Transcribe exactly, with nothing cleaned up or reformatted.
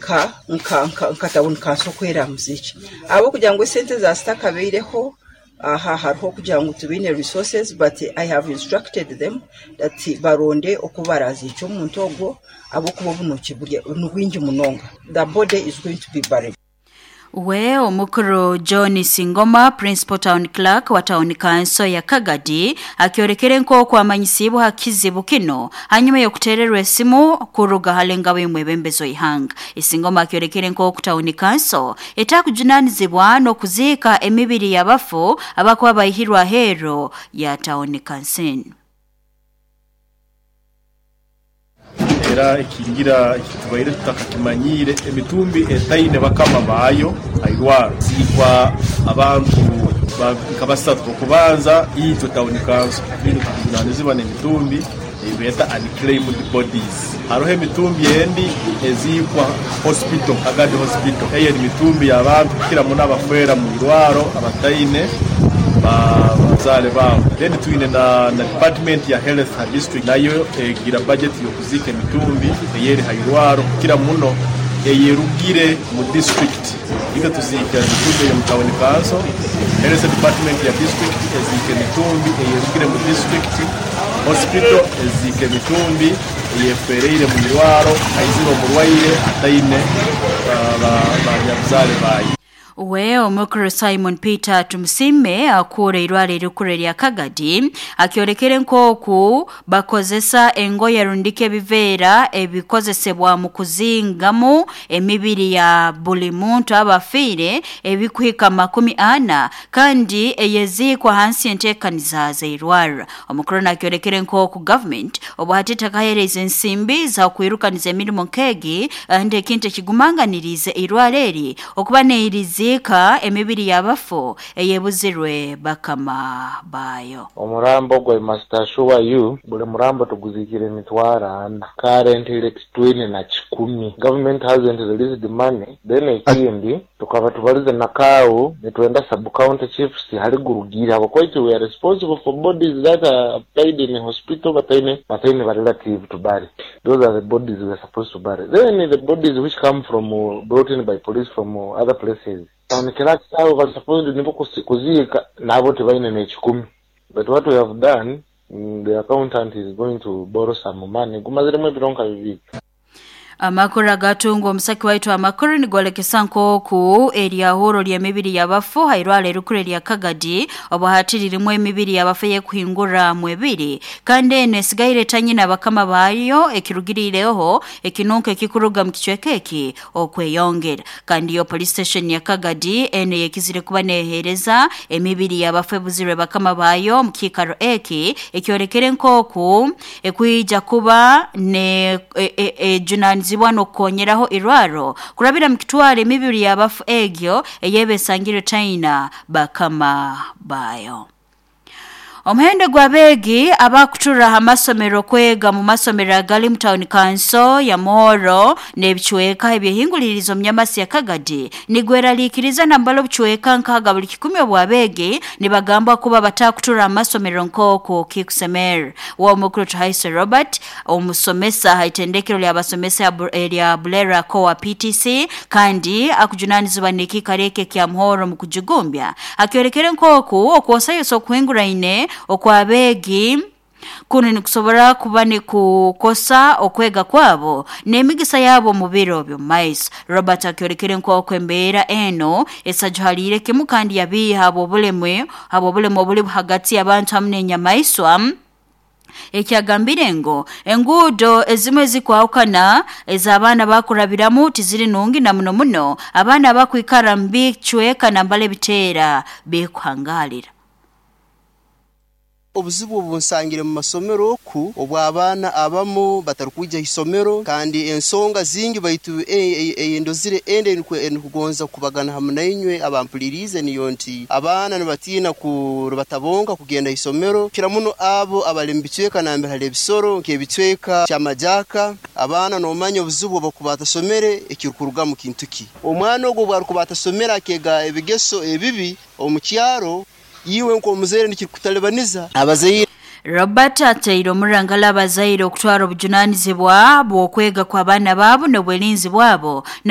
Nka nka nka nka town council kweramuza iki ahabw'okugira ngu esente zazitakabaireho aha hariho kugira ngu tubaine resources, but I have instructed them that baronde oku baraziikya omuntu ogwo, ahabw'okuba obunuuki ni bwingi munonga. The body is going to be buried. We omukuru John Singoma, principal town clerk wa town council ya Kagadi, akyorekere nk'oku amanyisibwa ha kizibu kino hanyuma y'okutererwa esimu kuruga halengabo y'omwebembezi w'ihanga. Isingoma akyorekere nk'oku town council etakujunanizibwa n'okuziika emibiri y'abafu abakuba baihirwe aheeru ya town council. Era ekingira ekitubaire tutakakimanyire, emitumbi etaine bakama baayo airwaro ziikwa abantu nka basatu. Okubanza itwe town council twine tukujunanizibwa n'emitumbi eyibeeta unclaimed bodies. Hariho emitumbi endi eziikwa hospital, Kagadi Hospital. Eyo emitumbi y'abantu kukira muno abafeera mu irwaro abataine bazaare baabo. Then twine na, na department ya health ha district, nayo egira budget y'okuziika emitumbi eyeri ha irwaro, kukira muno eyerugire mu district. Itwe tuziika emitumbi eyo mu town council, health department ya district eziika emitumbi eyerugire mu district hospital, eziika emitumbi eyefereire mu irwaro aizire omurwaire ataine banyabuzaare baayo. We omukuru Simon Peter Tumusime akura irwaro erikuru erya Kagadi akyorekere nk'oku bakozesa engoye rundika ebiveera ebikozesebwa mu kuzingamu emibiri ya buli muntu abafiire ebikuhika makumi ana kandi eyeziikwa hansi enteekaniza z'eirwariro. Omukuru nakyorekere nk'oku government obu hati etakahereza ensimbi za kwirukaniza emirimo nk'egi, kandi ekintu ekigumanganirize eirwaro eri okuba neiriziika emibiri y'abafu eyebuzirwe bakama bayo. Omurambo gwa must assure you, buli murambo tuguzikire emitwaro ana. Currently twine na kikumi. Government hasn't released the money. Then ekindi tukaba tubalize na C A O, nitwenda sub county chiefs hali gurugira habwokuba we are responsible for bodies that are died in a hospital bataine bataine ba relative to bury. Those are the bodies we are supposed to bury. Then the bodies which come from uh, brought in by police from uh, other places, town clerks abo bali supposed nibo kuziika, nabo tebaine n'ekikumi. But what we have done, mm, the accountant is going to borrow some money. Gumaziremu ebiro nka bibiri. Amakuru agatungwa omusaki waitu amakuru nigolekesa nk'oku eryahuro ly'emibiri y'abafu hairwara erikuru erya Kagadi obu hati ririmu emibiri y'abafu ey'ekuhingura mu ebiri, kandi eno esigaire etanyina bakama baayo, ekirugiriireho ekinunko ekikuruga mu kicweka eki okweyongera. Kandi yo police station ya Kagadi eno yekizire kuba neehereza emibiri y'abafu ebuzirwe bakama baayo mu kiikaro eki ekyorekere nk'oku ekwija kuba ne ejunanizibwa e, e, n'okukonyeraho irwaro kurabira mu kitwara emibiri y'abafu egyo eyeba esangire taina bakama bayo. Omuhendo gw'abeegi abakutura ha masomero kwega mu masomero agali mu town council ya Muhoro n'ebicweka ebyehingulirizo mu Nyamasi ya Kagadi nigweraliikiriza, nambala obucweka nkaaga buli kikumi obw'abeegi nibagambwa kuba batakutura ha masomero nk'oku kikusemera. W'omukuru Tuhaise Robert, omusomesa ha itendekero ly'abasomesa erya Bulera Kowa P T C kandi akujunanizibwa n'ekiikaro eki ekya Muhoro mu kujugumbya, akyorekere nk'oku okwosayosa okuhinguraine okwabeegi kunu nikusobora kuba nikukosa okwega kwabo n'emigisa yabo mu biro by'omumaiso. Robert akyorekere nk'oku embeera eno esajuhaliire kimu kandi yabiiha habw'obulemu habw'obulemu obuli hagati y'abantu hamu n'enyamaiswa, ekyagambire ngu enguudo ezimu ezikwahukana ez'abaana bakurabiramu tiziri nungi, na muno muno abaana abakwikara mu bicweka nambala ebiteera bikuhangalira. Obuzibu obunsangire mu masomero oku obw'abaana abamu batarukwija isomero, kandi ensonga zingi, baitu eyendozire ende enikugonza kubagana hamu nainywe abampuliriize niyo nti abaana nibatiina batabonka kugenda isomero, kira muno abo abali mu bicweka nambere hali ebisoro nk'ebicweka kyamajaka. Abaana nomanya obuzibu obukuba atasomere ekirukurugamu kintu ki? Omwana ogwo obwarukuba atasomere akega ebigeso ebibi omu kyaro, iwe nk'omuzaire nikikutalibaniza abazaire. Robert ateire omurangala abazaire okutwara obujunanizibwa bw'okwega kw'abaana baabo n'obwerinzi bwabo na